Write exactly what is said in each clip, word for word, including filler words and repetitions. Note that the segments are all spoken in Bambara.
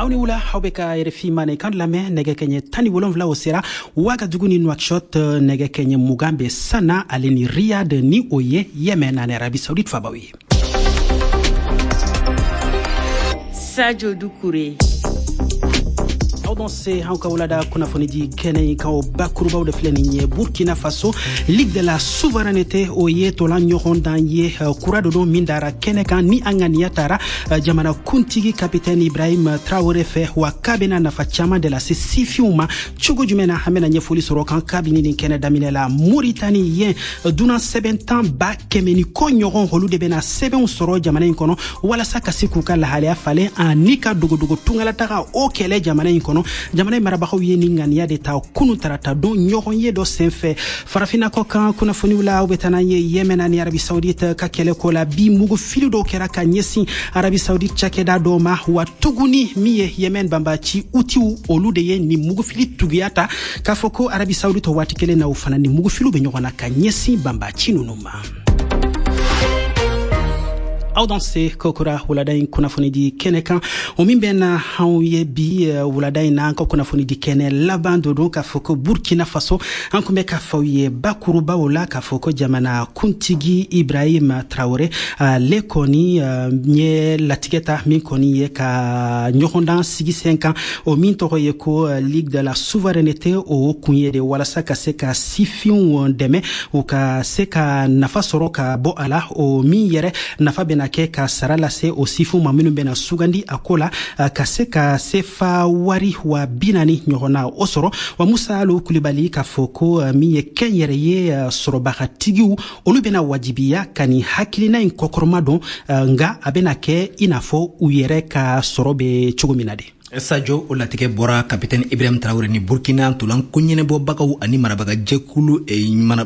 Aw ni wula, aw bɛ ka R F I mandenkan lamɛn. Nɛgɛ kɛɲɛ tan ni wolonfila o sera Wagadugu ni Nouakchott, nɛgɛ kɛɲɛ mugan bɛ Sana ale ni Riyad, ni o ye Yemen ani Arabie Saoudite fabaw ye. Sadio Doucouré. Aw dɔn se an ka wulada kunnafonidi kɛnɛ in kan, o bakurubaw de filɛ nin ye. Burkina Faso, Ligue de la Souveraineté, o ye tolan ɲɔgɔndan ye kura dɔ don min dara kɛnɛ kan, ni an ŋaniya tara jamana kuntigi Capitaine Ibrahim Traoré fɛ. Wa k'a bena nafa caaman de lase sifinw ma cogo jumɛn na, an bena ɲɛfɔli sɔrɔ kan kabini nin kɛnɛ daminɛ la. Moritani, yen dunan sɛbɛn tan ba kɛmɛ ni kɔ ɲɔgɔn, olu de bena sɛbɛnw sɔrɔ jamana in kɔnɔ walasa ka se k'u ka lahalaya falen ani ka dogodogo tungalataga o kɛlɛ jamana in kɔnɔ. Jamana in marabagaw ye nin ŋaniya de ta kunu tarata don ɲɔgɔn ye dɔ senfɛ. Farafina kɔ kan kunnafoniw la, aw bɛ taa n'an ye Yemen ani Arabie Saoudite ka kɛlɛ ko la. Bi, mugu fili dɔw kɛra ka ɲɛsin Arabie Saoudite cakɛda dɔw ma. Wa tuguni, min ye Yemen banbaci Utiw, olu de ye nin mugufili tuguya ta k'a fɔ ko Arabie Saoudite waati kelen na, o fana ni mugufiliw bɛ ɲɔgɔn na ka ɲɛsin banbaci ninnu ma. Aw dan se kokura wulada in kunnafonidi kɛnɛ kan, o min bɛ na anw ye bi wulada in na, an ka kunnafonidi kɛnɛ laban dɔ don, k'a fɔ ko Burkina Faso, an kun bɛ k'a fɔ aw ye bakurubaw la k'a fɔ ko jamana kuntigi Ibrahim Traoré, ale kɔni ye latigɛ ta min kɔni ye ka ɲɔgɔndan sigi sen kan, o min tɔgɔ ye ko Ligue de la Souveraineté. O kun ye de walasa ka se ka sifinw dɛmɛ, u ka se ka nafa sɔrɔ ka bɔ a la, o min yɛrɛ nafa bɛna kɛ ka sara lase o sifinw ma minnu bɛna sugandi a ko la, ka se ka sefa wari wa bi naani ɲɔgɔnna o sɔrɔ. Wa Musa Alo Kulibali, k'a fɔ ko min ye kɛn yɛrɛ ye sɔrɔbagatigiw, olu bɛna wajibiya ka nin hakilina in kɔkɔrɔma don, nka a bɛna kɛ i n'a fɔ u yɛrɛ ka sɔrɔ bɛ cogo min na de. Sajo, o latigɛ bɔra Kapitɛni Ibrahim Traoré ni Burkina ntolan ko ɲɛnɛbɔbagaw ani marabaga jɛkulu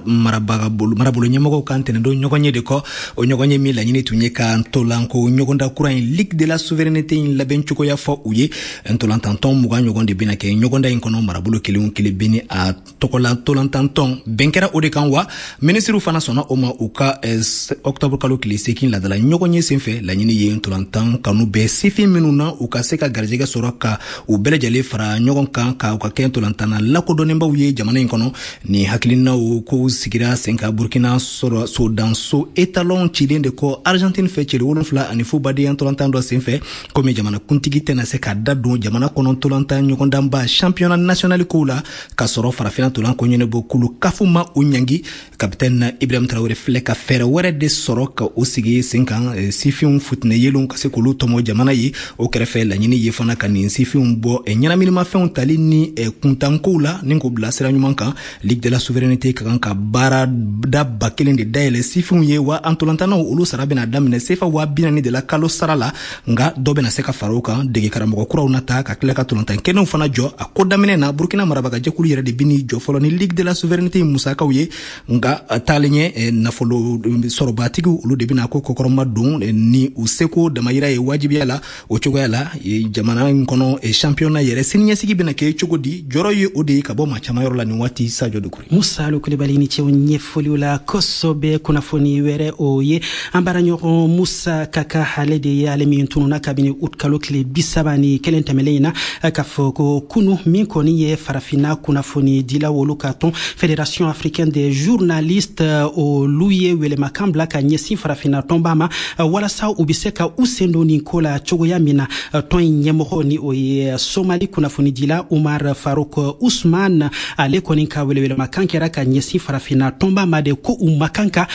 marabaga marabolo ɲɛmɔgɔw kan tɛnɛdon ɲɔgɔn ye de kɔ. O ɲɔgɔn ye min laɲini tun ye ka ntolanko ɲɔgɔnda kura in, Ligue de la Souveraineté in, labɛn cogoya fɔ u ye. Ntolantantɔn mugan ɲɔgɔn de bɛna kɛ ɲɔgɔnda in kɔnɔ, marabolo kelen kelen bɛ ni a tɔgɔla ntolantantɔn. Bɛn kɛra o de kan, wa minisiriw fana sɔnna o ma u ka octobre kalo tile seegin ladala ɲɔgɔn ye senfɛ. Laɲini ye ntolantan kanu bɛɛ sifin minnu na, u ka se ka garijɛgɛ sɔrɔ ka u bɛɛ lajɛlen fara ɲɔgɔn kan ka u ka kɛ ntolantanna lakodɔnnenbaw ye jamana in kɔnɔ. Ni hakilinaw kow sigira sen kan Burkina sɔrɔ sodanso étalon cilen de kɔ Argentine fɛ cɛli wolonfila ani fu badenya ntolantan dɔ senfɛ. Komi jamana kuntigi tɛna se ka da don jamana kɔnɔ ntolantan ɲɔgɔndanba championnat national kow la k'a sɔrɔ farafinna ntolan ko ɲɛnabɔ kulu kafu ma o ɲangi, Kapitɛni Ibrahim Traoré filɛ ka fɛɛrɛ wɛrɛ de sɔrɔ ka o sigi sen kan, sifinw futinɛ yelenw ka se k'olu tɔmɔ jamana ye. O kɛrɛfɛ, laɲini ye fana ka nin sifinw bɔ ɲɛnaminimafɛnw tali ni kuntankow la ni k'o bila sira ɲuman kan. Ligue de la Souveraineté ka kan ka baara da ba kelen de dayɛlɛ sifinw ye, wa ntolantannaw olu sara bɛna daminɛ sefa waa bi naani de la kalo sara la, nka dɔ bɛna se ka fara o kan. Dege karamɔgɔ kuraw na ta ka tila ka ntolantan kɛnɛw fana jɔ. A ko daminɛ na, Burkina marabagajɛkulu yɛrɛ de bɛ jɔ fɔlɔ ni Ligue de la Souveraineté musakaw ye, nka taalen ɲɛ, nafolo sɔrɔbatigiw olu de bɛna ko kɔkɔrɔma don ni u seko damayira ye wajibiya la. O cogoya la, jamana in kɔnɔ championnat yɛrɛ siniɲɛsigi bɛna kɛ cogo di? Jɔrɔ ye o de ye ka bɔ maa caman yɔrɔ la nin waati, Sajo Dukure. Musa Alo Kulibali, ni cɛw ɲɛfɔliw la kosɔbɛ. Kunnafoni wɛrɛ, o ye an baaraɲɔgɔn Musa Kaka, ale de ye ale min tununa kabini ut kalo tile bi saba ni kelen tɛmɛlen in na. K'a fɔ ko kunu, min kɔni ye farafinna kunnafoni dilaw olu ka tɔn, Fédération africaine des journalistes, olu ye welemakan bila ka ɲɛsin farafinna tɔnba ma walasa u be se ka u sen don nin ko la cogoya min na. Tɔn in ɲɛmɔgɔ, ni o ye Somali kunnafonidila Umar Faruk Usman, ale kɔni ka welewelemakan kɛra ka ɲɛsin farafinna tɔnba ma de ko u ma kan ka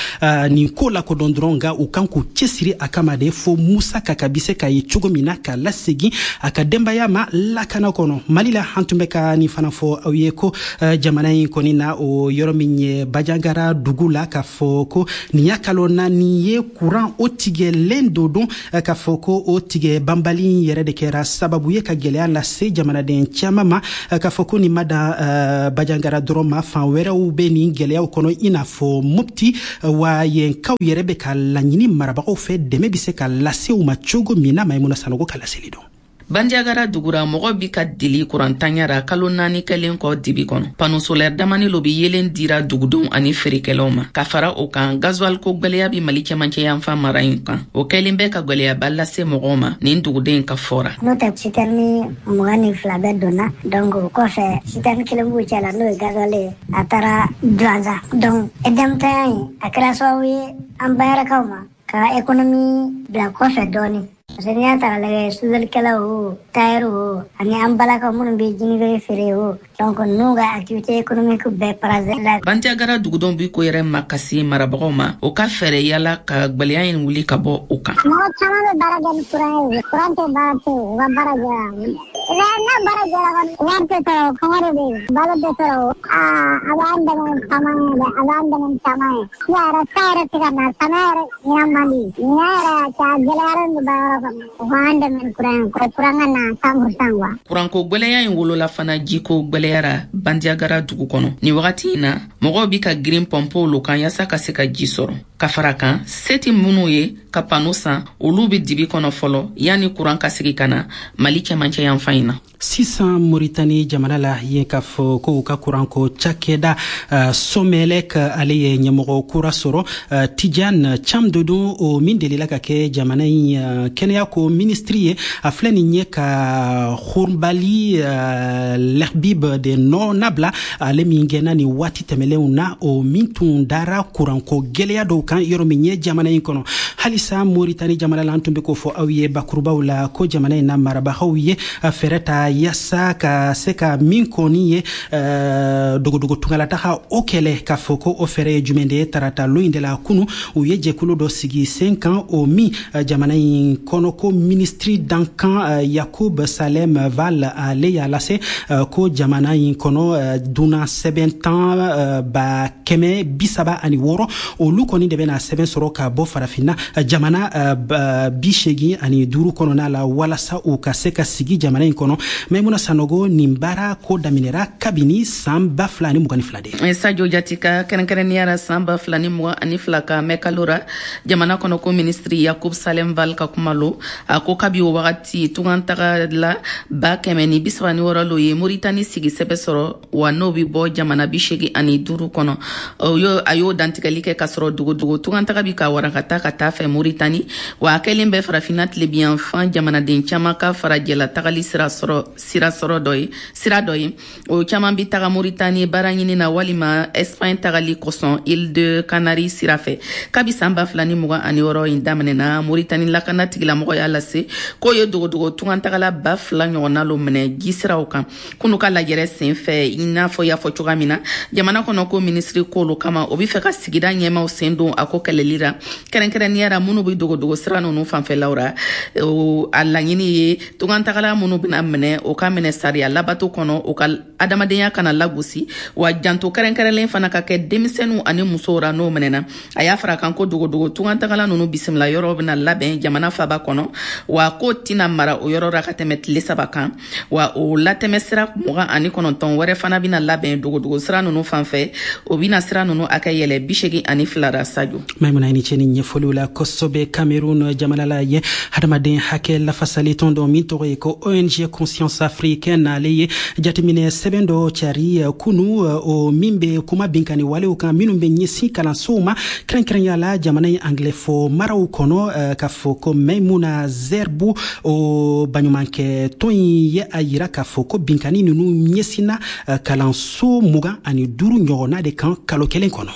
nin ko lakodɔn dɔrɔn, nka u kan k'u cɛsiri a kama de fo Musa Kaka bi se ka ye cogo min na ka lasegin a ka denbaya ma lakana kɔnɔ. Mali la, an tun bɛ ka nin fana fɔ aw ye ko jamana in kɔni na, o yɔrɔ min ye Bajangara dugu la, k'a fɔ ko nin y'a kalo naani ye kuran o tigɛlen do don. K'a fɔ ko o tigɛ banbali yɛrɛ de kɛra sababu ye ka gɛlɛya lase jamanaden caman ma. K'a fɔ ko nin ma dan Bajangara dɔrɔn ma, fan wɛrɛw bɛ nin gɛlɛyaw kɔnɔ, i n'a fɔ Mopti. Wa yenkaw yɛrɛ bɛ ka laɲini marabagaw fɛ, dɛmɛ bɛ se ka lase u ma cogo min na. Maimuna Sanogo ka laseli dɔn. Bandiagara dugura, mɔgɔ bi ka dili kurantanya ra kalo naani kɛlen kɔ dibi kɔnɔ. Panneau solaire damani lo bi yelen dira dugudenw ani feerekɛlaw ma. Ka fara o kan, gasoil ko gwɛlɛya bi Mali cɛmancɛ yanfan mara in kan, o kɛlen bɛ ka gwɛlɛyaba lase mɔgɔw ma nin duguden ka fɔra. N'o tɛ, citerne mugan ni fila bɛɛ donna. Donc o kɔfɛ, citerne kelen b'u cɛ la, n'o ye gasoil ye, a taara Duwanza. Donc E D M tanya in, a kɛra sababu ye an bayɛrɛkaw ma ka économie bila kɔfɛ dɔɔni, parce que n'i y'a ta k'a lajɛ, sudelikɛlaw o, tailleur o, ani an balakaw minnu bɛ jinifere feere o, donc ninnu ka activité économique bɛɛ paralysé la. Bandiagara dugudenw bi ko yɛrɛ makasi marabagaw ma, o ka fɛɛrɛ yala ka gwɛlɛya in wuli ka bɔ o kan. Mɔgɔ caman bɛ baara kɛ ni courant ye. Courant tɛ, baara tɛ yen, u ka baara jɔra. N'a baara jɔra kɔni, wari tɛ sɔrɔ, kɔngɔ de bɛ yen, balo tɛ sɔrɔ. Aa, a b'an dɛmɛ caman ye dɛ, a b'an dɛmɛ caman ye. Sisan yɛrɛ, san yɛrɛ tɛ ka na, samiya yɛrɛ ɲinan man di, ɲinan yɛrɛ a gɛlɛyaren don baara kɔnɔ. U k'an dɛmɛ ni courant ye, ko courant ka na cent pour cent quoi. Kuranko gwɛlɛya in wolola fana jiko gwɛlɛyara Bandiagara dugu kɔnɔ. Nin wagati in na, mɔgɔw bi ka girin pɔnpew lo kan yaasa ka se ka ji sɔrɔ. Ka fara kan, se ti minnu ye ka panneau san, olu be dibi kɔnɔ fɔlɔ yanni kuran ka segi ka na Mali cɛmancɛ yanfan in na. Sisan, Moritani jamana la yen, k'a fɔ ko u ka kuranko cakɛda uh, Somelec, ale ye ɲɛmɔgɔ kura sɔrɔ, uh, Tidiane Thiam dodon, o min delila ka kɛ jamana in uh, kɛnɛya ko ministri ye. A filɛ nin ye ka Hourbali uh, Lehbib de nɔ nabila, ale min gɛnna nin waati tɛmɛlenw na, o min tun dara kuranko gwɛlɛya dɔw kan yɔrɔ min ye jamana in kɔnɔ. Halisa Moritani jamana la, an tun be k'o fɔ aw ye bakurubaw la ko jamana in na marabagaw ye fɛɛrɛ ta yaasa ka se ka min kɔni ye uh, dogodogo tungalataga o kɛlɛ. K'a fɔ ko o fɛɛrɛ ye jumɛn de ye? Tarata lo in de la kunu, u ye jɛkulu dɔ sigi sen kan, o min uh, jamana in kɔnɔ ko ministri dankan uh, Yakub Salem Val, ale y'a lase uh, ko jamana in kɔnɔ uh, dunan sɛbɛn tan uh, ba kɛmɛ bi saba ani wɔɔrɔ, olu kɔni de bɛna sɛbɛn sɔrɔ ka bɔ Farafinna jamana uh, bi segin ani duuru kɔnɔna la, walasa u ka se ka sigi jamana in kɔnɔ. Maimuna Sanogo, nin baara ko daminɛra kabini san ba fila ani mugan ni fila de. Sadio Jatika, kɛrɛnkɛrɛnnenya ra san ba fila ni mugan ani fila ka mɛkalo ra, jamana kɔnɔ ko ministri Yakub Salem Val ka kuma lo, a ko kabi o wagati, tungan taga la ba kɛmɛ ni bisaba ni wɔɔrɔ lo ye Moritani sigi sɛbɛ sɔrɔ, wa n'o bi bɔ jamana bi segi ani duuru kɔnɔ. A y'o dantigɛli kɛ k'a sɔrɔ dogodogo tungan taga bi ka warakata ka taa fɛ Moritani, wa a kɛlen bɛ Farafinna tilebiyanfan jamanaden caman ka farajɛla tagali sira sɔrɔ sira sɔrɔ dɔ ye sira dɔ ye. O caman bi taga Moritani baara ɲini na walima Espagne tagali kosɔn Île de Canary sira fɛ. Kabi san ba fila ni mugan ani wɔɔrɔ in daminɛna, Moritani lakana tigilamɔgɔ y'a lase k'o ye dogodogo tungantagala ba fila ɲɔgɔnna lo minɛ jisiraw kan. Kunu ka lajɛrɛ sen fɛ, i n'a fɔ y'a fɔ cogoya min na, jamana kɔnɔ ko minisiri k'olu kama, o bi fɛ ka sigida ɲɛmaw sen don a ko kɛlɛli ra, kɛrɛnkɛrɛnnenya ra minnu bi dogodogo sira ninnu fanfɛlaw ra. A laɲini ye tungantagala minnu bɛna minɛ, o ka minɛ sariya labato kɔnɔ, o ka adamadenya kana lagosi, wa janto kɛrɛnkɛrɛnlen fana ka kɛ denmisɛnninw ani musow ra n'o minɛna. A y'a fara kan ko dogodogo tungantagala ninnu bisimila yɔrɔ bɛna labɛn jamana faba kɔnɔ, wa ko tɛna mara o yɔrɔ ra ka tɛmɛ tile saba kan, wa o latɛmɛ sira mugan ani kɔnɔntɔn wɛrɛ fana bɛna labɛn dogodogo sira ninnu fanfɛ, o bɛna sira ninnu hakɛ yɛlɛ bi segin ani fila ra. Sajo. Maimuna, i ni ce ni ɲɛfɔliw la kosɛbɛ. Cameroun jamana la ye, hadamaden hakɛ lafasali tɔn dɔ min tɔgɔ ye ko O N G Conscience Africaine, ale ye jateminɛ sɛbɛn dɔ cari kunu, o min bɛ kuma binkani walew kan minnu bɛ ɲɛsin kalansow ma, kɛrɛnkɛrɛnya la jamana in anglais fɔ maraw kɔnɔ. K'a fɔ ko Maimuna Zerbo, o baɲumankɛ tɔn in ye a yira k'a fɔ ko binkani ninnu ɲɛsinna kalanso mugan ani duuru ɲɔgɔnna de kan kalo kelen kɔnɔ.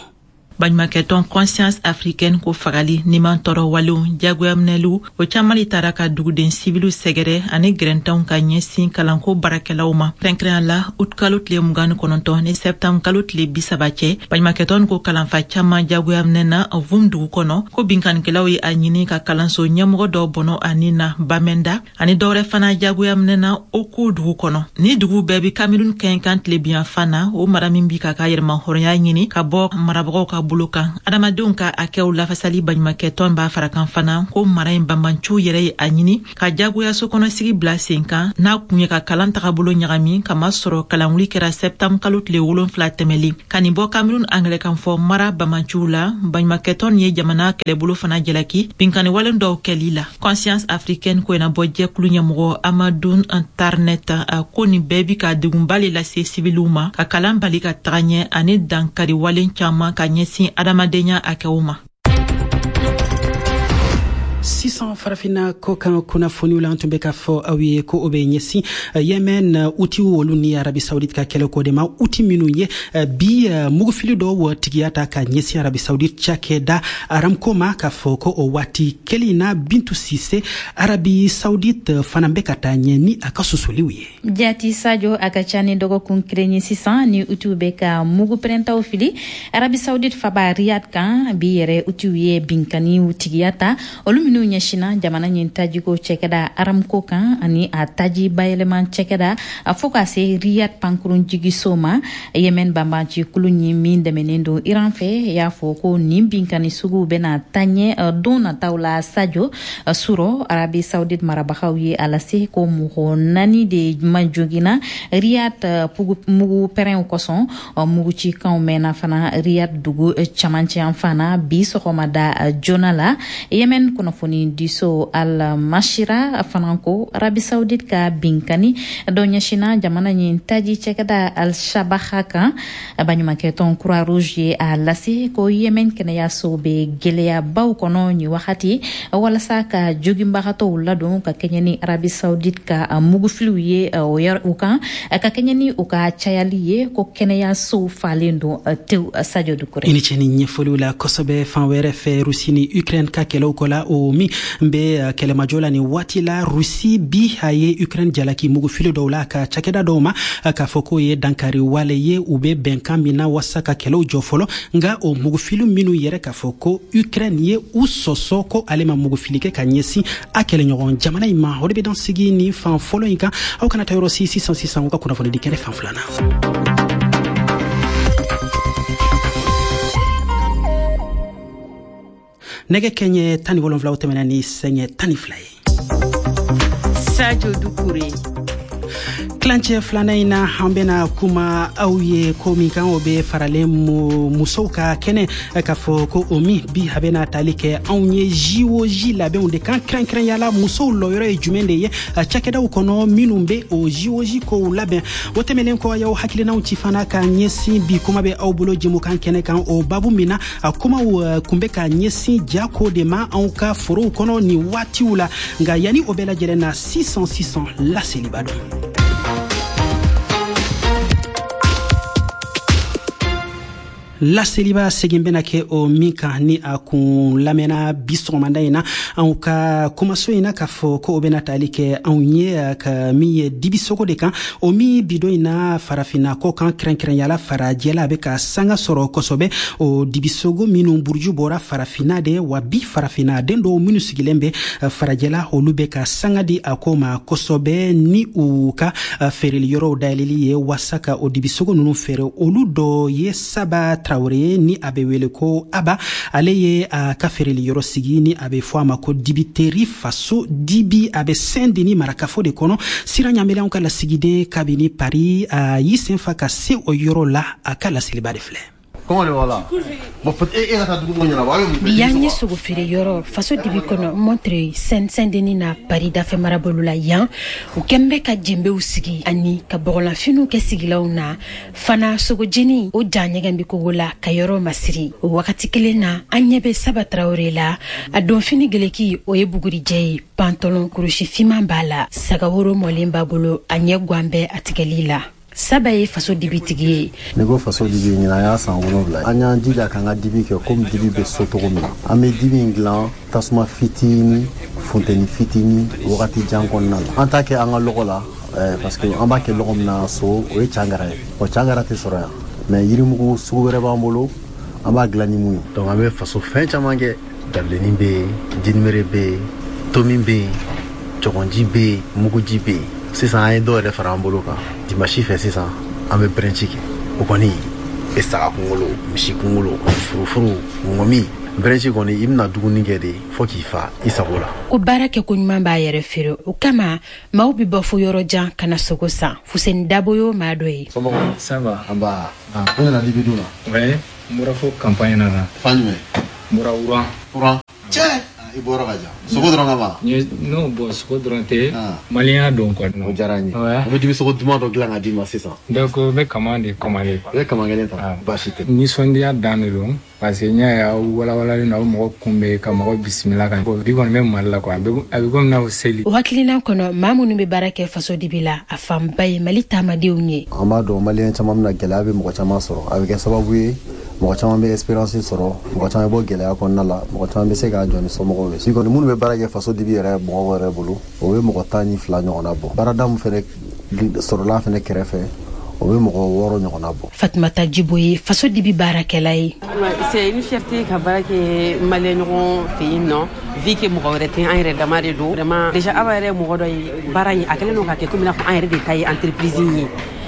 Baɲumankɛtɔn Conscience Africaine ko fagali, niman tɔɔrɔ walew, jagoyaminɛliw, o caaman le tara ka duguden siviliw sɛgɛrɛ ani gɛrɛntanw ka ɲɛsin kalanko baarakɛlaw ma, kɛrɛnkɛrɛnya la utukalo tile mugan ni kɔnɔntɔn ni sɛptanburu kalo tile bisaba cɛ. Baɲumankɛtɔn ko kalanfa caaman jagoyaminɛna Vum dugu kɔnɔ, ko binkanikɛlaw ye a ɲini ka kalanso ɲɛmɔgɔ dɔw bɔnɔ ani na Bamenda, ani dɔwɛrɛ fana jagoyaminɛna Oko dugu kɔnɔ. Ni dugu bɛɛ bi Kamerun kɛɲɛkan tilebiyanfan na, o mara min bi ka ka yɛrɛma hɔrɔnya ɲini ka bɔ marabagaw ka bolo kan. Adamadenw ka hakɛw lafasali baɲumankɛtɔn b'a fara kan fana ko mara in banbanciw yɛrɛ ye a ɲini ka jagoya sokɔnɔsigi bila sen kan n'a kun ye ka kalan tagabolo ɲagami, kamasɔrɔ kalanwuli kɛra sɛptanburu kalo tile wolonfila tɛmɛlen. Ka nin bɔ Cameroun angilɛkan fɔ mara banbanciw la, baɲumankɛtɔn ye jamana kɛlɛbolo fana jalaki binkanni walen dɔw kɛli la. Conscience africaine ko ɲɛnabɔ jɛkulu ɲɛmɔgɔ Amadou Tarnet a ko nin bɛɛ bi ka degunba le lase sibiliw ma, ka kalan bali ka taga ɲɛ ani dankari walen caman ka ɲɛsin adamadenya hakɛw ma. Sisan farafinna kɔkan kunnafoniw la, an tun bɛ k'a fɔ aw ye ko o bɛ ɲɛsin Yemen Utiw olu ni Arabi Saoudite ka kɛlɛko de ma. Uti minnu ye bi mugufili dɔw tigiya ta ka ɲɛsin Arabi Saoudite cakɛda Aramco ma, k'a fɔ ko o waati kelen na, Bintu Sise, Arabi Saoudite fana bɛ ka taa ɲɛ ni a ka sosoliw ye. Jati Sadio, a ka ca ni dɔgɔkun kelen ye sisan ni Utiw bɛ ka mugu pɛrɛntaw fili Arabi Saoudite faba Riyad kan. Bi yɛrɛ, Utiw ye binkaniw tigiya ta, olu minnu ɲɛsinna jamana ɲin tajiko cɛkɛda Aramco kan ani a taji bayɛlɛma cɛkɛda, a fo ka se Riyad pankurun jigiso ma. Yemen banbanci kulu ɲi min dɛmɛnen don Iran fɛ y'a fɔ ko nin binkani suguw bɛna taa ɲɛ don nataw la. Sadio Suro, Arabi Saoudite marabagaw ye a lase ko mɔgɔ naani de ma joginna Riyad mugu pɛrɛnw kosɔn. Mugucikanw mɛnna fana Riyad dugu camancɛ yanfan na bi sɔgɔmada joona la. Yemen kunnafoni diso Al Mashira fana ko Arabi Saoudite ka binkani dɔ ɲɛsinna jamana ɲin taji cɛkɛda Al Shabaha kan. Baɲumankɛtɔn Croix Rouge ye a lase ko Yemen kɛnɛyaso bɛ gɛlɛyabaw kɔnɔ nin wagati walasa ka joginbagatɔw ladon ka kɛɲɛ ni Arabi Saoudite ka mugufiliw ye o kan, ka kɛɲɛ ni u ka cayali ye, ko kɛnɛyasow falen don tewu. Sadio Dukure. I ni ce ni ɲɛfɔliw la kosɛbɛ. Fan wɛrɛ fɛ, Rusi ni Ukraine ka kɛlɛw kɔ la, o min bɛ kɛlɛmajɔ la nin waati la, Rusi bi a ye Ukraine jalaki mugufili dɔw la ka cakɛda dɔw ma, k'a fɔ k'o ye dankari wale ye u bɛ bɛnkan min na wasa ka kɛlɛw jɔ fɔlɔ. Nka o mugufili minnu yɛrɛ, k'a fɔ ko Ukraine ye u sɔsɔ ko ale ma mugufili kɛ ka ɲɛsin a kɛlɛɲɔgɔn jamana in ma, o de bɛ dan sigi nin fan fɔlɔ in kan. Aw kana taa yɔrɔ si, sisan sisan u ka kunnafoni di kɛnɛ fan filanan. Nɛgɛ kɛɲɛ tan ni wolonfila tɛmɛna ni sɛɲɛ tan ni fila ye. Sadio Dukure. Kilancɛ filanan in na, an bɛna kuma aw ye ko min kan, o bɛ faralen musow ka kɛnɛ, k'a fɔ ko o min bi a bɛna tali kɛ anw ye J O J labɛnw de kan, kɛrɛnkɛrɛnya la musow lɔyɔrɔ ye jumɛn de ye cakɛdaw kɔnɔ minnu bɛ o J O J kow labɛn. O tɛmɛnen kɔ, y'aw hakilinaw ci fana ka ɲɛsin bi kuma bɛ aw bolo jɛmukan kɛnɛ kan, o babu min na a kumaw kun bɛ ka ɲɛsin jako de ma anw ka forow kɔnɔ nin waatiw la. Nka yanni o bɛɛ lajɛlen na, sisan sisan laseliba don. Laseliba segin bɛna kɛ o min kan ni a kun lamɛnna bi sɔgɔmada in na anw ka kumaso in na, k'a fɔ ko o bɛna tali kɛ anw ye ka min ye dibisogo de kan, o min bidon in na farafinna kɔ kan, kɛrɛnkɛrɛnyala farajɛla, a bɛ ka sanga sɔrɔ kosɛbɛ. O dibisogo minnu buruju bɔra farafinna de wa, bi farafinna den dɔw minnu sigilen bɛ farajɛla, olu bɛ ka sanga di a ko ma kosɛbɛ ni u ka feereli yɔrɔw dayɛlɛli ye wasa ka o dibisogo ninnu feere. Olu dɔ ye Saba Traoré ni a bɛ wele ko Aba. Ale ye a ka feereli yɔrɔ sigi ni a bɛ fɔ a ma ko Dibiteri Faso Dibi. A bɛ Saint Denis marakafo de kɔnɔ. Sira ɲamɛlɛnw ka lasigiden kabini Paris, a y'i sen fa ka se o yɔrɔ la. A ka laseliba de filɛ. Bi y'an ye sogo feere yɔrɔ Faso Dibi kɔnɔ, Montreuil, Saint Denis na, Paris dafɛ marabolo la. Yan, u kɛn bɛ ka jenbew sigi ani ka bɔgɔlanfiniw kɛ sigilanw na fana. Sogojeni o ja ɲɛgɛn bɛ kogo la ka yɔrɔ masiri. O wagati kelen na, an ɲɛ bɛ Saba Tarawele la. A donfini geleki, o ye bugurijɛ ye, pantalon kurusi finman b'a la, sagaworo mɔlen b'a bolo, a ɲɛ guwan bɛ a tigɛli la. Saba ye Faso dibitigi ye. N'i ko Faso Dibi, ɲinan y'a san wolonwula. An y'an jija k'an ka dibi kɛ komi dibi bɛ so cogo min na. An bɛ dibi in dilan tasuma fitinin, funteni fitinin, wagati jan kɔnɔna la. An t'a kɛ an ka lɔgɔ la, parce que an b'a kɛ lɔgɔ min na so, o ye cangara ye. O cangara tɛ sɔrɔ yan, mais yirimugu sugu wɛrɛ b'an bolo, an b'a dilan ni mun ye. Donc an bɛ faso fɛn caman kɛ: dabilennin bɛ yen, jinimere bɛ yen, tomi bɛ yen, cɔgɔnji bɛ yen, muguji bɛ yen. Sisan an ye dɔw yɛrɛ fara an bolo kan. Dimanche fɛ sisan, an bɛ brunch kɛ. O kɔni, E saga kunkolo, misi kunkolo, furufuru, ŋɔmi. Brunch kɔni, i bɛna dumuni kɛ de fo k'i fa i sago la. Ko baara kɛ ko ɲuman b'a yɛrɛ feere, o kama maaw bɛ bɔ fo yɔrɔ jan ka na sogo san. Fuseni Dabo y'o maa dɔ ye. Ça va? Nba, i nana dibi dun na? Ouais, n bɔra fo campagne na na. Fan jumɛn? N bɔra Wuran. Wuran? Cɛ, i bɔra ka jan. Sogo dɔrɔn kama? Non, bon, sogo dɔrɔn tɛ, maliyɛnya don quoi. O diyara n ye. N bɛ dibi sogo duman dɔ dilan ka d'i ma sisan. Donc n bɛ kama de commander quoi. I bɛ kama kelen ta? Baasi tɛ. Nisɔndiya dan de don, parce que n y'a ye aw walawalalen don, aw mɔgɔ kunbɛn ka mɔgɔ bisimila ka bi kɔni bɛ Mali la quoi, a bɛ komi n'a fɔ seli. O hakilina kɔnɔ, maa minnu bɛ baara kɛ faso dibi la, a fanba ye Mali taamadenw ye. An b'a dɔn maliyɛn caman bɛna, gɛlɛya bɛ mɔgɔ caman sɔrɔ, a bɛ kɛ sababu ye mɔgɔ caman bɛ expérience sɔrɔ, mɔgɔ caman bɛ bɔ gɛlɛya kɔnɔna la, mɔgɔ caman bɛ se k'a jɔ ni somɔgɔw ye. Si kɔni minnu bɛ baara kɛ faso dibi yɛrɛ mɔgɔw yɛrɛ bolo, o bɛ mɔgɔ tan ni fila ɲɔgɔnna bɔ. Baarada min fɛnɛ sɔrɔla fɛnɛ kɛrɛfɛ, o bɛ mɔgɔ wɔɔrɔ ɲɔgɔnna bɔ. Fatumata Jibo ye faso dibi baarakɛla ye. C'est une fierté ka baara kɛ maliyɛn ɲɔgɔn fɛ yen nɔ, vu que mɔgɔ wɛrɛ tɛ, an yɛrɛ dama de don. Vraiment, déjà Aba yɛrɛ ye mɔgɔ dɔ ye, baara in a kɛlen don ka kɛ komi i n'a fɔ an yɛrɛ de ta ye entreprise in ye.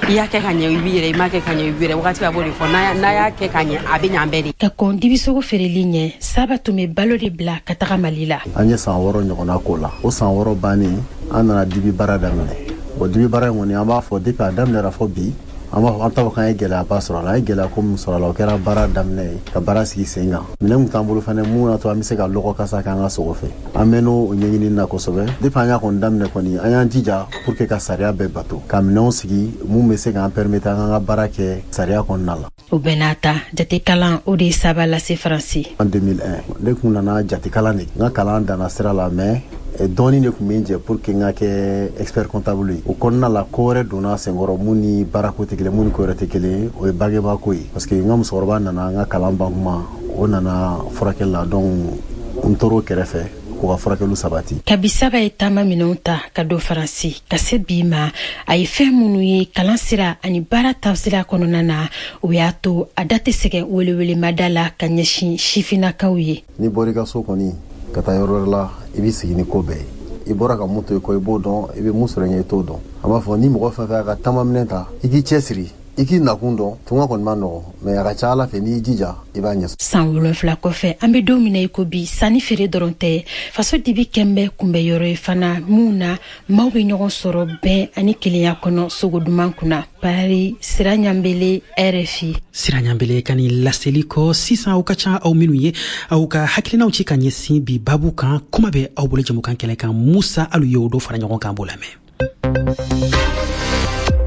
I y'a kɛ ka ɲɛ, i b'i yɛrɛ, i m'a kɛ ka ɲɛ, i b'i yɛrɛ. Wagati a b'o de fɔ, n'a y'a kɛ ka ɲɛ, a bɛ ɲɛ an bɛɛ de. Ka kɔn dibisogo feereli ɲɛ, Saba tun bɛ balo de bila ka taga Mali la. An ye san wɔɔrɔ ɲɔgɔnna k'o la. O san wɔɔrɔ bannen, an nana dibi baara daminɛ. O dibi baara in kɔni, an b'a fɔ depuis a daminɛra fɔ bi, an b'a fɔ an t'a fɔ k'an ye gɛlɛyaba sɔrɔ a la. An ye gɛlɛya ko min sɔrɔ a la, o kɛra baara daminɛ ye, ka baara sigi sen kan. Minɛn kun t'an bolo fɛnɛ mun y'a to an bɛ se ka lɔgɔ kasa k'an ka sogo fɛ. An mɛnn'o ɲɛɲinini na kosɛbɛ. Depuis an y'a kɔni daminɛ kɔni, an y'an jija pour que ka sariya bɛɛ bato, ka minɛnw sigi mun bɛ se k'an permettre an k'an ka baara kɛ sariya kɔnɔna la. O bɛɛ n'a ta, jatekalan o de ye Saba lase Faransi. En deux mille un, ne kun nana jatekalan de. N ka kalan danna sira la, mais dɔɔni de tun bɛ n jɛ pour que n ka kɛ expert comptable ye. O kɔnɔna la, ko wɛrɛ donna senkɔrɔ mun ni baarako tɛ kelen, mun ni ko wɛrɛ tɛ kelen ye, o ye bangebaako ye, parce que n ka musokɔrɔba nana n ka kalan ban kuma, o nana furakɛli la, donc n tor'o kɛrɛfɛ k'u ka furakɛliw sabati. Kabi Saba ye taama minɛnw ta ka don Faransi ka se bi ma, a ye fɛn minnu ye kalan sira ani baara taasira kɔnɔna na, o y'a to a da tɛ sɛgɛn welewelemada la ka ɲɛsin sifinnakaw ye. N'i bɔra i ka so kɔni ka taa yɔrɔ wɛrɛ la, i b'i sigi ni ko bɛɛ ye. I bɔra ka mun to i kɔ, i b'o dɔn, i bɛ mun sɔrɔ ɲɛ, i t'o dɔn. An b'a fɔ ni mɔgɔ fɛn fɛn y'a ka taamaminɛ ta, i k'i cɛsiri, i k'i nakun dɔn. Tunga kɔni ma nɔgɔ, mais a ka ca Ala fɛ, n'i y'i jija, i b'a ɲɛ. San wolonfila kɔfɛ, an bɛ don min na i ko bi, sanni feere dɔrɔn tɛ, faso dibi kɛnbɛ kunbɛ yɔrɔ ye fana mun na maaw bɛ ɲɔgɔn sɔrɔ bɛn ani kelenya kɔnɔ sogo duman kunna. Paris, Sira Ɲanbele, R F I. Sira Ɲanbele ka nin laseli kɔ sisan, aw ka ca aw minnu ye aw ka hakilinaw ci ka ɲɛsin bi babu kan, kuma bɛ aw bolo jamukan kɛnɛ kan. Musa Alu ye o dɔ fara ɲɔgɔn kan, b'o lamɛn.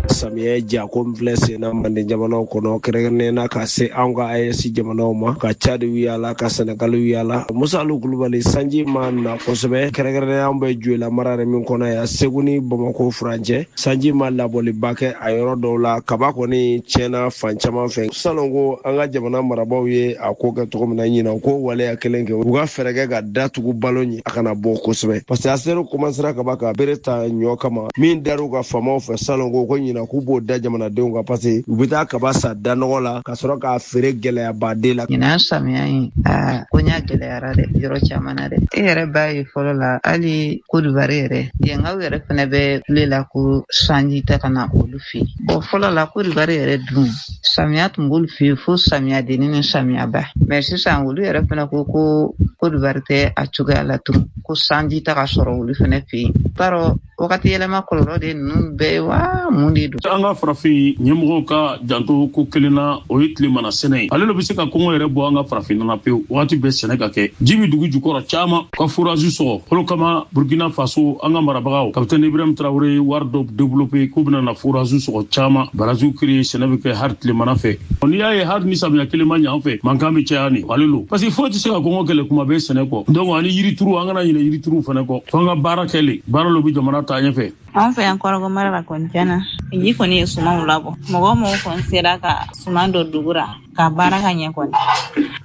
Samiyɛ jako min filɛ sen na manden jamanaw kɔnɔ, kɛrɛnkɛrɛnnenya na ka se anw ka A E S jamanaw ma, ka Cadi yaala, ka Sɛnɛgali yaala, Musa Alu Kulubali, sanji ma na kosɛbɛ. Kɛrɛnkɛrɛnnenya an bɛ Joyila mara yɛrɛ min kɔnɔ yan, Segu ni Bamako furancɛ, sanji ma labɔliba kɛ a yɔrɔ dɔw la. Kaba kɔni tiɲɛna fan caman fɛ. Salon ko an ka jamana marabaaw ye a ko kɛ cogo min na, ɲinan ko waleya kelen kɛ, u ka fɛɛrɛ kɛ ka datugu balo ɲɛ, a kana bɔ kosɛbɛ, parce que a sera commencera kaba ka bere ta ɲɔ kama min dar'u ka faamaw fɛ salon ko ko ɲinan k'u b'o da jamanadenw kan, parce que u bɛ taa kaba sa da nɔgɔ la ka sɔrɔ k'a feere gɛlɛyabaden la. Ɲinan samiya in, aa, ko ɲa gɛlɛyara dɛ yɔrɔ caman na dɛ. E yɛrɛ b'a ye fɔlɔ la, hali Kodibari yɛrɛ, yenkaw yɛrɛ fɛnɛ bɛ kule la ko sanji tɛ ka na olu fɛ yen. Bɔn, fɔlɔ la Kodibari yɛrɛ dun, samiya tun b'olu fɛ yen fo samiya denni ni samiyaba, mɛ sisan olu yɛrɛ fɛnɛ ko ko Kodibari tɛ a cogoya la tugun, ko sanji tɛ ka sɔrɔ olu fɛnɛ fɛ yen. T'a dɔn wagati yɛlɛma kɔlɔlɔ de ninnu bɛɛ ye wa mun de don. An ka farafin ɲɛmɔgɔw ka janto ko kelen na, o ye tilemana sɛnɛ ye. Ale de bɛ se ka kɔngɔ yɛrɛ bɔ an ka farafinna na pewu. Wagati bɛɛ sɛnɛ ka kɛ, ji bɛ dugu jukɔrɔ caman ka forage sɔgɔ olu kama. Burkina Faso, an ka marabagaw, capitaine Ibrahim Traoré ye wari dɔ développé k'u bɛna na forage sɔgɔ caman, barrage créer, sɛnɛ bɛ kɛ hali tilemana fɛ. N'i y'a ye hali ni samiya kelen ma ɲɛ an fɛ, mankan bɛ caya nin ale lo, parce que foyi tɛ se ka kɔngɔ kɛlɛ kuma bɛɛ sɛnɛ kɔ. Donc ani yirituru, an kana ɲinɛ yirituru fɛnɛ kɔ, fo an ka baara kɛ le, baara lo bɛ jamana taa ɲɛfɛ. An fɛ yan Kɔrɔgɔ mara la kɔni, tiɲɛna ji kɔni ye sumanw labɔ. Mɔgɔ o mɔgɔ kɔni sera ka suman dɔ dugu ra ka baara ka ɲɛ kɔni,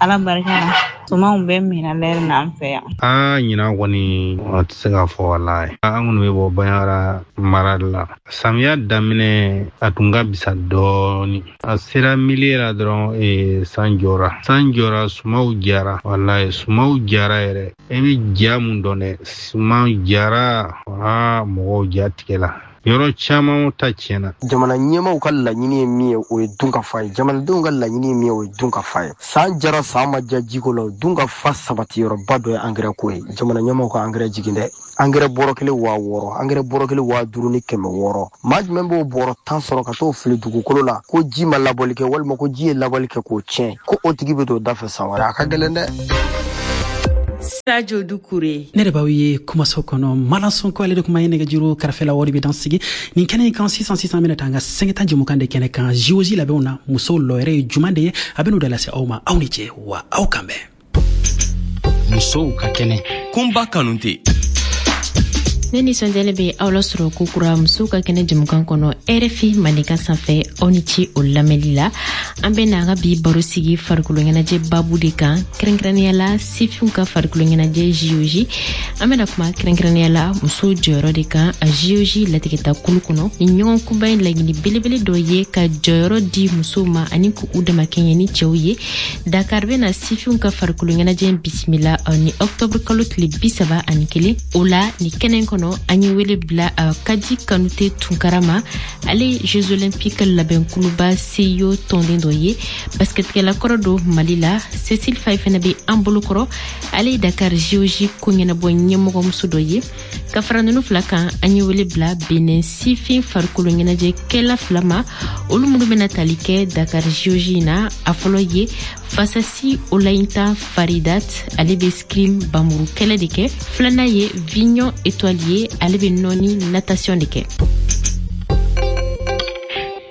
Ala barika la, sumanw bɛɛ minɛ lɛri na an fɛ yan. Aa, ɲinan kɔni a tɛ se ka fɔ, walayi. An kɔni bɛ bɔ Banjagara mara de la. Samiya daminɛ a tun ka bisa dɔɔni, a sera milieu la dɔrɔn ee, san jɔra, san jɔra, sumaw jara, walayi, sumaw jara yɛrɛ. E bɛ ja mun dɔn dɛ, suman jara, aa, mɔgɔw ja tigɛ la. Yɔrɔ caman ta tiɲɛna. Jamana ɲɛmaaw ka laɲini ye min ye, o ye dunkafa ye. Jamanadenw ka laɲini ye min ye, o ye dunkafa ye. San jara san ma diya jiko la, dunkafa sabati yɔrɔba dɔ ye angɛrɛ ko ye. Jamana ɲɛmaaw ka angɛrɛ jigin dɛ. Angɛrɛ bɔrɔ kelen waa wɔɔrɔ, angɛrɛ bɔrɔ kelen waa duuru ni kɛmɛ wɔɔrɔ. Maa jumɛn b'o bɔrɔ tan sɔrɔ ka t'o fili dugukolo la ko ji ma labɔli kɛ walima ko ji ye labɔli kɛ k'o tiɲɛ, ko o tigi bɛ don da fɛ san wɛrɛ? A ka gɛlɛn dɛ. Sadio Doucouré. Ne de b'aw ye kumaso kɔnɔ Malan Sonko, ale de kuma ye nɛgɛjuru karafela wari bɛ dan sigi nin kɛnɛ in kan sisan sisan. Bɛna taa an ka sɛgɛta jɛmukan de kɛnɛ kan J O J labɛnw na, musow lɔyɛrɛ ye juman de ye, a bɛ n'o de lase aw ma. Aw ni cɛ wa, aw kan bɛn. Musow ka kɛnɛ. Kunba Kanute. Ne nisɔndiyalen bɛ aw lasɔrɔ kokura musow ka kɛnɛ jɛmukan kɔnɔ R F I Mandenkan sanfɛ. Aw ni ce o lamɛnli la. An bɛ na an ka bi baro sigi farikolo ɲɛnajɛ babu de kan, kɛrɛnkɛrɛnnenya la sifinw ka farikolo ɲɛnajɛ J O J. An bɛna kuma kɛrɛnkɛrɛnnenya la musow jɔyɔrɔ de kan a J O J latigɛta kulu kɔnɔ. Nin ɲɔgɔn kunba in laɲini belebele dɔ ye ka jɔyɔrɔ di musow ma ani k'u damakɛɲɛ ni cɛw ye. Dakar bɛna sifinw ka farikolo ɲɛnajɛ bisimila ni ɔktɔburu kalo tile bi saba ani kelen. O la, nin kɛnɛ kɔnɔ, an ye wele bila uh, Kadi Kanute Tunkara ma. Ale ye Jeux Olympiques labɛnkuluba C I O tɔnden dɔ ye, basketkɛla kɔrɔ don Mali la. Cécile Faye fɛnɛ bɛ an bolo kɔrɔ, ale ye Dakar J O J ko ɲɛnabɔ ɲɛmɔgɔmuso dɔ ye. Ka fara nunu fila kan, an ye wele bila Benin sifin farikolo ɲɛnajɛkɛla fila ma, olu minnu bɛna tali kɛ Dakar J O J na. A fɔlɔ ye Fasasi Olayinta Faridat, ale bɛ escrime bamuru kɛlɛ de kɛ. Filanan ye Vignon Étoile ye, ale bɛ nɔni natation de kɛ.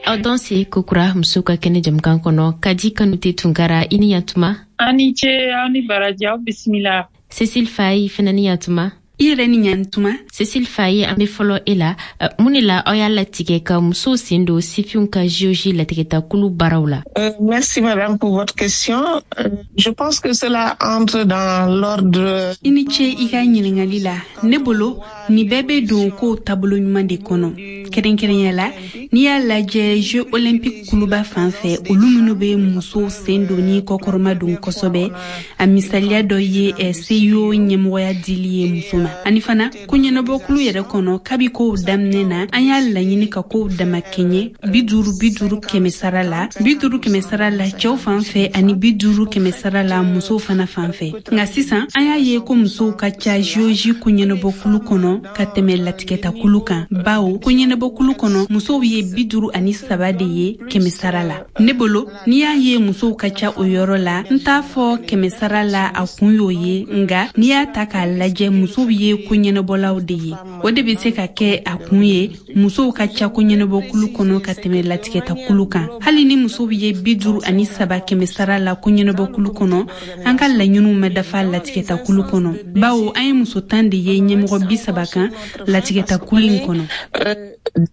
Aw danse kokura musow ka kɛnɛ jɛmukan kɔnɔ. Kadi Kanute Tunkara, i ni yantuma. Aw ni ce, aw ni baraji, aw bisimila. Cécile Faye fɛnɛ ni yantuma. I yɛrɛ ni ɲantuma. Cécile Faye, an be fɔlɔ e la. Mun de la aw y'a latigɛ ka musow sen don sifinw ka J O J latigɛta kulu baaraw la? Euh, merci madame pour votre question. Euh, je pense que cela entre dans l'ordre. I ni ce i ka ɲiningali la. Ne bolo, nin bɛɛ bɛ don kow taabolo ɲuman de kɔnɔ. Kɛrɛnkɛrɛnya la, n'i y'a lajɛ Jeux Olympiques kuluba fan fɛ, olu minnu bɛ musow sen don ni kɔkɔrɔma don kosɛbɛ. A misaliya dɔ ye eh, C I O ɲɛmɔgɔya dili ye muso ma. Ani fana, ko ɲɛnabɔkulu yɛrɛ kɔnɔ, kabi kow daminɛ na, an y'a laɲini ka kow damakɛɲɛ bi duuru bi duuru kɛmɛ sara la, bi duuru kɛmɛ sara la cɛw fan fɛ ani bi duuru kɛmɛ sara la musow fana fan fɛ. Nka sisan, an y'a ye ko musow ka ca J O J ko ɲɛnabɔkulu kɔnɔ ka tɛmɛ latigɛtakulu kan, bawo ko ɲɛnabɔkulu kɔnɔ, musow ye bi duuru ani saba de ye kɛmɛ sara la. Ne bolo, n'i y'a ye musow ka ca o yɔrɔ la, n t'a fɔ kɛmɛ sara la a kun y'o ye, nga n'i y'a ta k'a lajɛ, musow ye ko ɲɛnabɔlaw de ye. O de bɛ se ka kɛ a kun ye musow ka ca ko ɲɛnabɔkulu kɔnɔ ka tɛmɛ latigɛtakulu kan. Hali ni musow ye bi duuru ani saba kɛmɛ sara la ko ɲɛnabɔkulu kɔnɔ, an ka laɲiniw ma dafa latigɛtakulu kɔnɔ, bawo an ye muso tan de ye ɲɛmɔgɔ bi saba kan latigɛtakulu in kɔnɔ.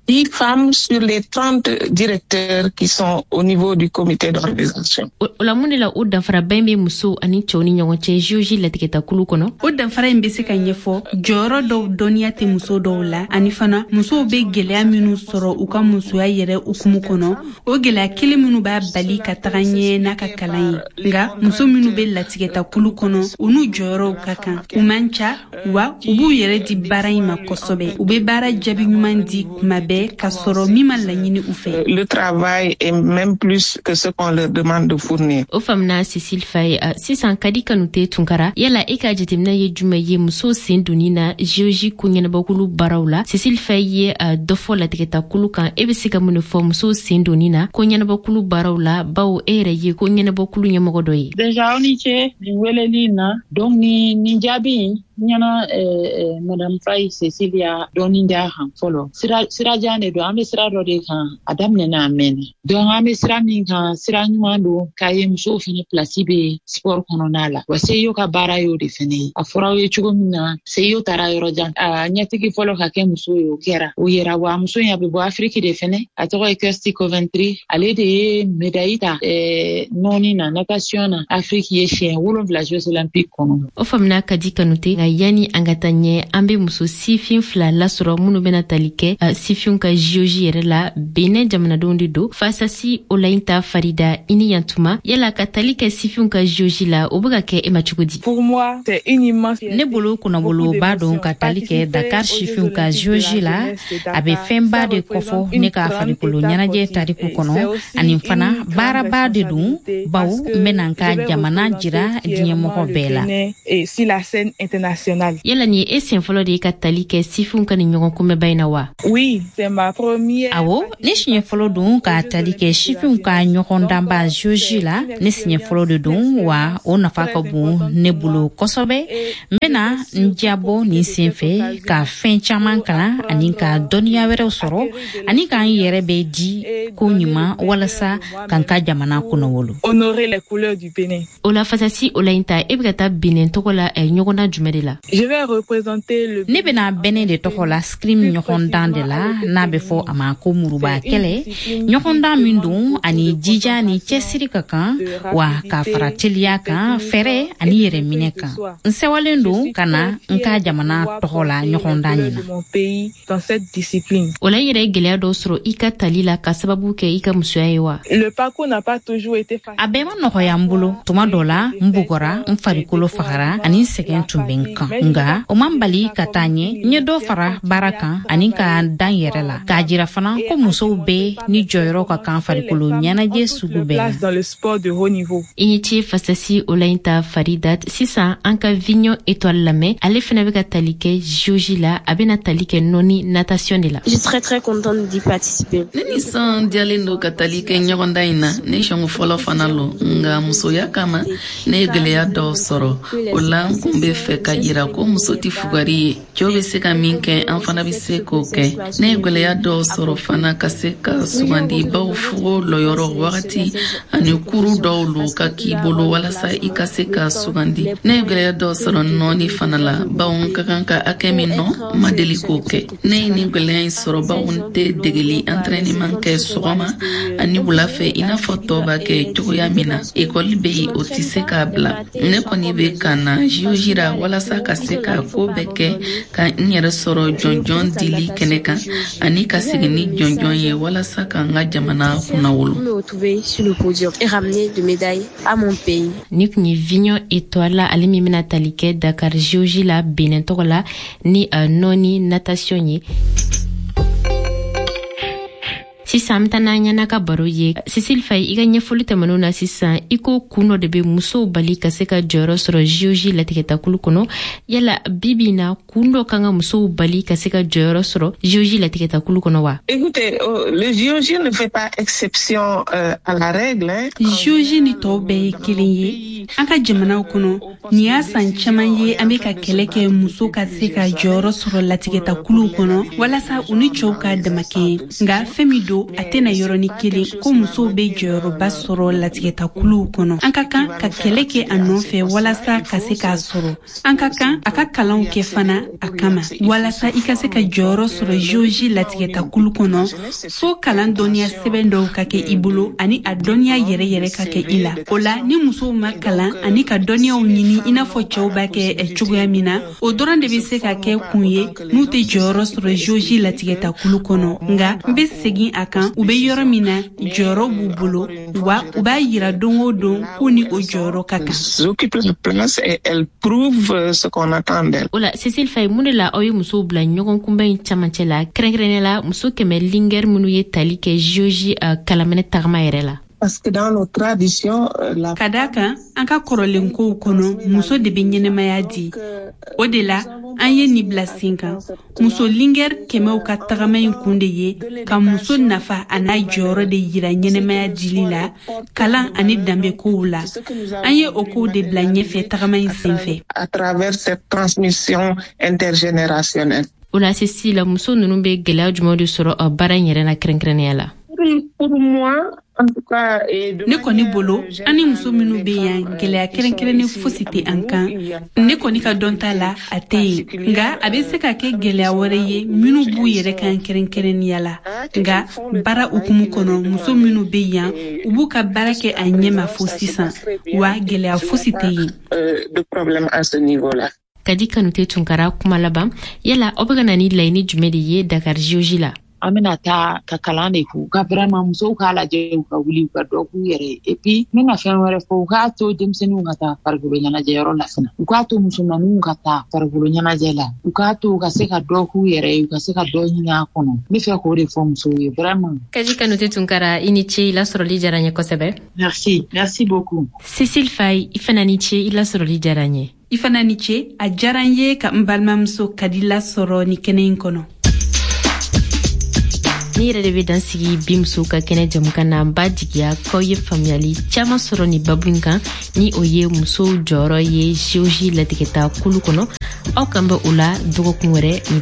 dix femmes sur les trente directeurs qui sont au niveau du comité d'organisation. O la, mun de la o danfaraba in bɛ musow ani cɛw ni ɲɔgɔn cɛ J O J latigɛtakulu kɔnɔ? O danfara in bɛ se ka ɲɛfɔ jɔyɔrɔ dɔw dɔnniya tɛ muso dɔw la, ani fana musow bɛ gɛlɛya minnu sɔrɔ u ka musoya yɛrɛ hukumu kɔnɔ, o gɛlɛya kelen minnu b'a bali ka taga ɲɛ n'a ka kalan ye. Nka muso minnu bɛ latigɛtakulu kɔnɔ, u n'u jɔyɔrɔw ka kan, u man ca wa u b'u yɛrɛ di baara in ma kosɛbɛ. U bɛ baara jaabi ɲuman di kuma bɛɛ ka sɔrɔ min ma laɲini u fɛ. Le travail est même plus que ce qu'on leur demande de fournir. O faamuna, Cécile Faye. Sisan, Kadi Kanute Tunkara, yala e ka jateminɛ ye jumɛn ye musow sen donni na J O J ko ɲɛnabɔkulu baaraw la? Cécile Faye ye dɔ fɔ latigɛtakulu kan. E bɛ se ka mun de fɔ musow sen donni na ko ɲɛnabɔkulu baaraw la, bawo e yɛrɛ ye ko ɲɛnabɔkulu ɲɛmɔgɔ dɔ ye? Déjà, aw ni ce nin weleli in na. Donc ni nin jaabi in ɲɛna, eh, madame Faye Cecilia dɔɔni d'a kan fɔlɔ. Sira sirajan de don, an bɛ sira dɔ de kan, a daminɛna a mɛnna. Donc an bɛ sira min kan, sira ɲuman don k'a ye musow fɛnɛ place bɛ sport kɔnɔna la. Wa C I O ka baara y'o de fɛnɛ ye. A fɔra aw ye cogo min na, C I O taara yɔrɔ jan, a ɲɛtigi fɔlɔ ka kɛ muso ye, o kɛra, o yera. Wa muso in, a bɛ bɔ Afiriki de fɛnɛ, a tɔgɔ ye Kirsty Coventry. Ale de ye médaille ta eh, nɔɔni na, natation na, Afiriki ye siɲɛ wolonwula Jeux Olympiques kɔnɔ. O faamuna, Kadi Kanute. Nka yani an ka taa ɲɛ, an bɛ muso sifin fila lasɔrɔ minnu bɛna tali kɛ uh, sifinw ka J O J yɛrɛ la. Benin jamanadenw de don. Fasasi Olayinta Farida, i ni yantuma. Yala ka tali kɛ sifinw ka J O J la, o bɛ ka kɛ e ma cogo di? Pour moi, c'est une immense Ne bolo, kunnaboloba don ka tali kɛ Dakar sifinw ka J O J la. A bɛ fɛnba de kɔfɔ ne ka farikolo ɲɛnajɛ tariku kɔnɔ, ani fana baaraba de don, bawo n bɛna n ka jamana jira diɲɛmɔgɔ bɛɛ la. Et sur la scène internationale. Yala nin ye e sen fɔlɔ de ye ka tali kɛ sifinw ka nin ɲɔgɔn kunbɛba in na wa? Oui, c'est ma première. Awɔ, ne siɲɛ fɔlɔ don ka tali kɛ sifinw ka ɲɔgɔndanba J O J la. Ne siɲɛ fɔlɔ de don wa, o nafa ka bon ne bolo kosɛbɛ. N bɛna n diyabɔ nin sen fɛ ka fɛn caman kalan ani ka dɔnniya wɛrɛw sɔrɔ, ani k'an yɛrɛ bɛ di ko ɲuman walasa ka n ka jamana kunnawolo. Honorer les couleurs du Bénin. O la, Fasasi Olayinta, e bɛ ka taa Benin tɔgɔ la eh, ɲɔgɔndan jumɛn de la? Je vais représenter le Ne bɛna Benin de tɔgɔ la escrime ɲɔgɔndan de la, n'a bɛ fɔ a ma ko muruba kɛlɛ. Ɲɔgɔndan min don, ani jija ni cɛsiri ka kan wa, ka fara teliya kan, fɛɛrɛ ani yɛrɛminɛ kan. N sɛwalen don ka na n ka jamana tɔgɔ la ɲɔgɔndan ɲin na. Mon pays dans cette discipline. O la, i yɛrɛ ye gwɛlɛya dɔw sɔrɔ i ka tali la ka sababu kɛ i ka musoya ye wa? Le parcours n'a pas toujours été facile. A bɛɛ ma nɔgɔya n bolo. Tuma dɔ la, n bugɔra, n farikolo fagara, ani n sɛgɛn tun bɛ n kan, nga o man bali ka taa ɲɛ. N ye dɔ fara baara kan ani ka dan yɛrɛ la, k'a jira fana ko musow bɛɛ ni jɔyɔrɔ ka kan farikolo ɲɛnajɛ sugu bɛɛ la. Place dans le sport de haut niveau. I ni ce, Fasasi Olayinta Faridat. Sisan an ka Vignon Étoile lamɛn. Ale fɛnɛ bɛ ka tali kɛ J O J la. A bɛna tali kɛ nɔni natation de la. Je suis très très contente d'y participer. Ne nisɔn diyalen don ka tali kɛ ɲɔgɔndan in na. Ne siɲɛ fɔlɔ fana lo, nga musoya kama ne ye gwɛlɛya dɔw sɔrɔ. O la, n kun be fɛ ka yira ko muso tɛ fugari ye. Cɛw be se ka min kɛ, an fana be se k'o kɛ. Ne ye gwɛlɛya dɔw sɔrɔ fana ka se ka sugandi, baw fugo lɔyɔrɔ wagati ani kuru dɔw lo ka k'i bolo walasa i ka se ka sugandi. Ne ye gwɛlɛya dɔw sɔrɔ nɔɔni fana la, bawo n ka kan ka hakɛ min nɔ, n ma deli k'o kɛ. Ne ye nin gwɛlɛya in sɔrɔ bawo n tɛ degeli entraînement kɛ sɔgɔma ani wula fɛ i n'a fɔ tɔw b'a kɛ cogoya min na. Ekɔli bɛ yen, o tɛ se k'a bila. Ne kɔni bɛ ka na J O J la walasa ka se ka ko bɛɛ kɛ ka n yɛrɛ sɔrɔ jɔnjɔn dili kɛnɛ kan, ani ka segin ni jɔnjɔn ye walasa ka n ka jamana kunnawolo. Me retrouver sur le podium et ramener de médailles à mon pays. Ni kun ye Vignon Étoile la, ale min bɛna tali kɛ Dakar J O J la Benin tɔgɔ la ni uh, nɔni natation ye. Sisan an bɛ taa n'an ɲɛna ka baro ye. Cécile Faye, i ka ɲɛfɔli tɛmɛnenw na sisan, i ko kun dɔ de bɛ musow bali ka se ka jɔyɔrɔ sɔrɔ J O J latigɛtakulu kɔnɔ. Yala bi bi in na, kun dɔ kan ka musow bali ka se ka jɔyɔrɔ sɔrɔ J O J latigɛtakulu kɔnɔ wa? Écoutez, euh, le J O J ne fait pas exception euh, à la règle. Hein. J O J ni tɔw bɛɛ ye kelen ye. An ka jamanaw kɔnɔ, nin y'a san caman ye an bɛ ka kɛlɛ kɛ muso ka se ka jɔyɔrɔ sɔrɔ latigɛtakuluw kɔnɔ walasa u ni cɛw ka damakɛɲɛ. Nka fɛn min don, a tɛna yɔrɔnin kelen ko musow bɛ jɔyɔrɔba sɔrɔ latigɛtakuluw kɔnɔ. An ka kan ka kɛlɛ kɛ a nɔfɛ walasa ka se k'a sɔrɔ. An ka kan a ka kalanw kɛ fana a kama. Walasa i ka se ka jɔyɔrɔ sɔrɔ J O J latigɛtakulu kɔnɔ, fo kalan dɔnniya sɛbɛn dɔw ka kɛ i bolo ani a dɔnniya yɛrɛ yɛrɛ ka kɛ i la. O la, ni musow ma kalan ani ka dɔnniyaw ɲini i n'a fɔ cɛw b'a kɛ cogoya min na, o dɔrɔn de bɛ se ka kɛ kun ye n'u tɛ jɔyɔrɔ sɔrɔ J O J latigɛtakulu kɔnɔ. Nka n bɛ segin a kan, u bɛ yɔrɔ min na, jɔyɔrɔ b'u bolo wa, u b'a yira don o don k'u ni o jɔyɔrɔ ka kan. Occupent la place et elles prouvent ce qu'on attend d'elles. O la, Cécile Faye, mun de la aw ye musow bila ɲɔgɔn kunbɛn in camancɛ la, kɛrɛnkɛrɛnnenya la muso kɛmɛ lingɛri minnu ye tali kɛ J O J uh, kalamɛnɛ tagama yɛrɛ la? Parce que dans nos traditions, euh, la Ka daa kan an ka kɔrɔlen kow kɔnɔ, muso de bɛ ɲɛnɛmaya di. O de la an ye nin bila sen kan. Muso lingɛri kɛmɛw ka tagama in kun de ye ka muso nafa a n'a jɔyɔrɔ de yira ɲɛnɛmaya dili la, kalan ani danbe kow la. An ye o kow de bila ɲɛfɛ tagama in senfɛ. À travers cette transmission intergénérationnelle. O la, Cécile, muso ninnu bɛ gɛlɛya jumɛn de sɔrɔ uh, baara in yɛrɛ la, kɛrɛnkɛrɛnnenya la? Pour moi, en tout cas, et de Ne kɔni bolo, an ni muso minnu bɛ yan, gɛlɛya kɛrɛnkɛrɛnnen fosi tɛ an kan. Ne kɔni ka dɔn ta la, a tɛ yen. Nka a bɛ se ka kɛ gɛlɛya wɛrɛ ye minnu b'u yɛrɛ kan kɛrɛnkɛrɛnnenya la. Nka baara hukumu kɔnɔ, muso minnu bɛ yan, u b'u ka baara kɛ a ɲɛma fo sisan wa, gɛlɛya fosi tɛ yen. euh, de problème à ce niveau-là. Kadi Kanute Tunkara, kuma laban, yala aw bɛ ka na ni laɲini jumɛn de ye Dakar J O J la? An bɛna taa ka kalan de k'u ka, vraiment musow k'a lajɛ, u ka wuli, u ka dɔ k'u yɛrɛ ye. Et puis n bɛna fɛn wɛrɛ fɔ, u k'a to denmisɛnninw ka taa farikolo ɲɛnajɛyɔrɔ la fana, u k'a to musomaninw ka taa farikolo ɲɛnajɛ la, u k'a to u ka se ka dɔ k'u yɛrɛ ye, u ka se ka dɔ ɲini a kɔnɔ. N bɛ fɛ k'o de fɔ musow ye vraiment. Kadi Kanute Tunkara, i ni ce, i lasɔrɔli diyara n ye kosɛbɛ. Merci, merci beaucoup. Cécile Faye, i fana ni ce, i lasɔrɔli diyara n ye. I fana ni ce, a diyara n ye ka n balimamuso Kadi lasɔrɔ ni kɛnɛ in kɔnɔ. Ni yɛrɛ de bɛ dan sigi bi musow ka kɛnɛ jamukan na. N b'a jigiya k'aw ye faamuyali caaman sɔrɔ ni babu in kan, ni o ye musow jɔyɔrɔ ye J O J latigɛta kulu kɔnɔ. Aw kan bɛ o la dɔgɔkun wɛrɛ ni